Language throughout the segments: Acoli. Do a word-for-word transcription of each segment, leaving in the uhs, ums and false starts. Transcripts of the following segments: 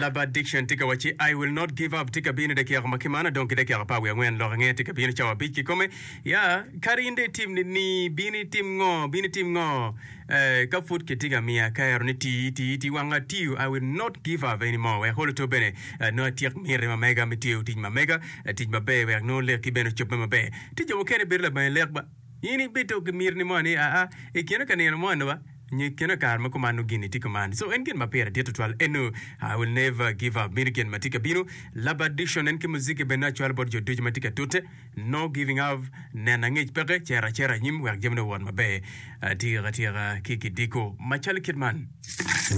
Lab addiction tye ka wacci I will not give up tye ka bino i dakika ma kimano dong ki dakika apar wiye angwen lok ange tye ka bino cawa abic kikome ya kadi in dong itim ni ni bin itim ngo bin itim ngo eh, ka pud kitye ka miya kero ni tii tii tii wang atiyo I will not give up anymore wek olo to bene eh, nongo atyek miti ma mega me tiyo tic ma mega eh, tic maber wek nongo lekki bene ocobbe maber tye jo mukene bedo labange lek ba in ibedo ki miti ni mo ni aa i kine ka nino mo ni ba nyo i kine kare ma kuman nongo gin-ni tye kuman. So en gin ma pire dit tutwal eno I will never give up meno gin ma tye ka bino. Lab addiction en ki muziki bene acwalo bot jo ducu ma tye ka tute. No giving up neno angec peke cito acita anyim wek jamine owot maber atika tika ki kidiko macalo kit man.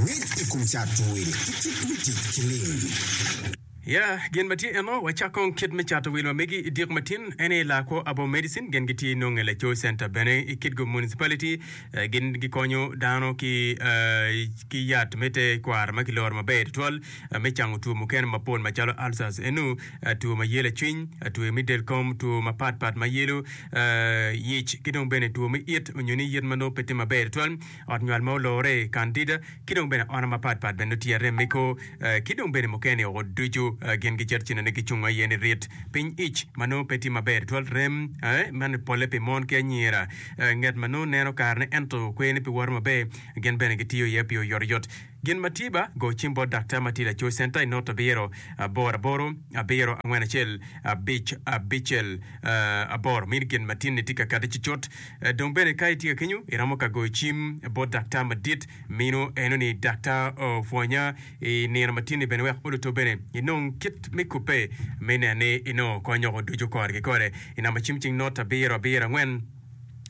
Ngec i kom cato wil ki kit me tic ki lim. Ya, gin ma tye eno, wacak kong kit me cato wil ma megi i dyek matin. En aye Lakwo Abo Medicine, gin gitye nonge Laco Center bene i Kitgum Municipality. Gin gikonyo dano ki ki yat me te kwaro ma kiloro maber tutwal me cango two mukene mapol macalo ulcers enu, two ma yelo cwiny, two me del kom, two mapat pat ma yelo yic ki dong bene two me it onyo ni yit ma nongo pe tye maber tutwal, ot nywal ma olore, candida ki dong bene ona mapat pat bene nongo tye arem me kor. Ki dong bene mukene woko ducu gin gicito cinene gicung aye ni rit piny ic ma nongo pe tye maber tutwal, rem man polle pi mon ki anyira, nget ma nongo neno karene ento kwer-ni pe woto maber, gin bene gitiyo iye pi oyotoyot. Gin ma tye ba, go cim bot daktar ma tye laco centa i not abiro aboro aboro abiro angwen acel abic abicel aboro. Mini gin ma tin-ni tye ka kati cucut. Dong bene ka itye ka kenyo, iromo ka goyo cim bot daktar madit mino eno ni daktar opwonya I nino ma tye-ni bene wek oluto bene inong kit me kubbe me neno ni inongo kony oko ducu kore ki kore. I namba cim cing not abiro abiro angwen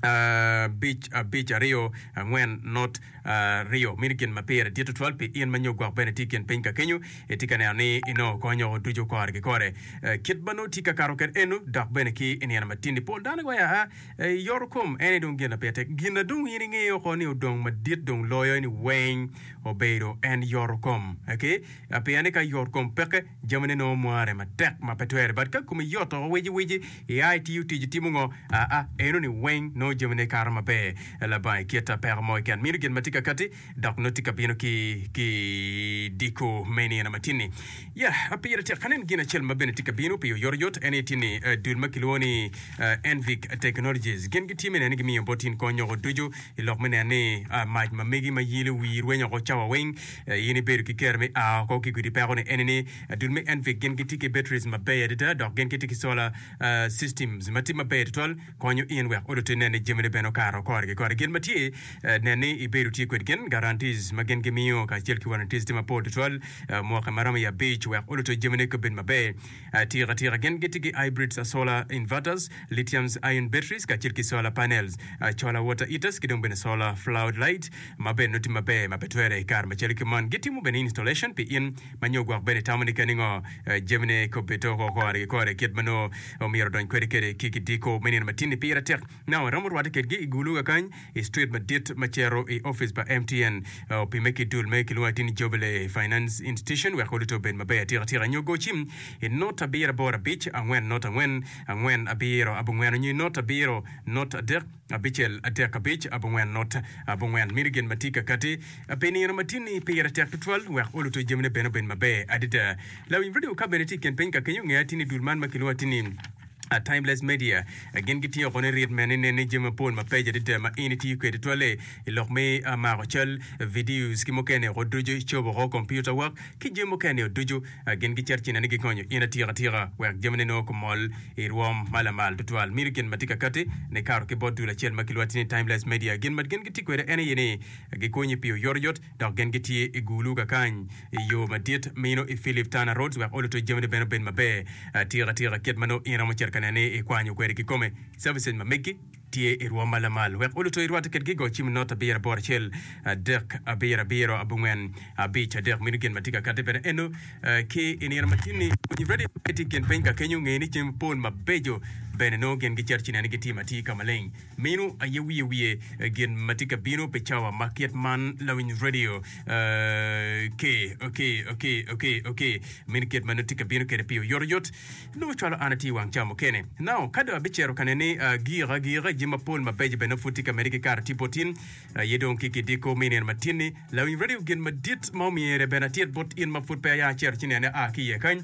abic abic aryo angwen not aryo. Meno gin ma pire dit tutwal pi in ma nyo gwok bene tye i kin piny ka kenyo itye ka neno ni inongo kony oko ducu kore ki kore. Kit ma nongo tye ka kato kwede eno dok bene ki i nino ma tye-ni pol dano giwaco aa yoto kom en aye dong gin ma pire tek. Gin na dong in ingeyo oko ni odong madit dong loyo ni weng obedo en yoto kom. Okay? Pien ni ka yot kom peke, jamine nongo mware matek ma pe twere. But ka komi yot oko wici wici, ia itiyo tic itimo ngo? Aa, eno ni weng nongo jamine kato maber labongo ikit peko mo keken. Meno gin ma tye ka kati dok nongo tye ka bino ki ki diko me nino matin-ni. Ya, pire tek anen gin acel ma bene tye ka bino pi oyotoyot en aye tye ni dul ma kilwongo ni Envic Technologies gin gitye me neno ni gimiyo bot in kony oko ducu I lok me neno ni mac ma megi ma yelo wii rwenyo oko cawa weng, in ibedo ki kero me a oko ki gudi peko ni eni ni dul me Envic gin gitye ki batteries maber adada dok gin gitye ki solar systems ma tye maber tutwal konyo in wek oluti nen ni jamine bene okato kore ki kore. Gin ma tye nen ni ibedo tye kwed gin guarantees ma gin gimiyo kacel ki warranties tye mapol tutwal mwaki maromo i abic wek oluti jamine ka obed maber. Atika tika gin gitye ki hybrids solar inverters, lithiums ion batteries kacel ki solar panels, colar water heaters ki dong bene solar flood light ma bene nongo tye maber ma pe twere i kare macalo ki man. Gitimo bene installation pi in ma nyo gwok bene itamo ni keni ngo jamine kobbe toko kore ki kore kit ma nongo omyero odony kwede kede ki kidiko me nino matin-ni pire tek. Now iromo rwate kedgi i Gulu kakany i street madit ma cito i office pa M T N opime ki dul me kilwongo atir ni Jubilee Finance Institution wek oluto obed maber atika tika nyo go cim i not abiro aboro abic angwen not angwen angwen abiro abongwen onyo i not abiro not adek abicel adek abic abongwen not abongwen. Meno gin ma tye ka kati pi nino ma tye-ni pire tek tutwal wek oluto jamine bene obed maber adada. Lawiny radio ka bene tye i kin piny ka kenyo nge atir ni dul man ma kilwongo atir ni Timeless Media gin gitye oko ni rit mene inen ni jami mapol mapeco adada ma in itiyo kwede tutwalle i lok me mako cal, videos ki mukene oko ducu icobo oko computer work ki jami mukene ducu gin gicito ci nene gikonyo in atika tika wek jamine nongo kumol i rwom ma lamal tutwal. Meno gin ma tye ka kati ni kato ki bot dul acel ma kilwati ni Timeless Media. Gin ma gin gitye kwede en aye ni gikonyi pi oyotoyot dok gin gitye i Gulu kakany i yo madit mino i Philip Turner Roads wek oluto jamine bene obed maber atika tika kit ma nongo in iromo cito ka nene ni ikwanyo kwede kikome. Services ma megi tye i rwom ma lamal wek oluto irwatte kedgi go cim not abiro aboro acel adek abiro abiro abongwen abic adek meno gin ma tye ka kati bene eno ki i nino ma tin-ni. Winyo radio ma tye i kin piny ka kenyo nge ni jami mapol mabeco Bene nongo gin gicito ci nene gitimo atir ka maleng. Meno aye wiye wiye gin ma tye ka bino pi cawa ma kit man lawiny radio. Okay, okay, okay, okay, okay. Meno kit ma nongo tye ka bino kwede pi oyotoyot. Nongo cwalo an atye i wang cawa mukene. Now, ka dong abicito ka nene gika agika, jami mapol mabeco bene pud tye ka medde ki kato tye bot in. Aye dong ki kidiko me nino matin-ni, lawiny radio gin madit ma omyere bene atit bot in ma pud pe aya acito ci nene aa ki iye kany.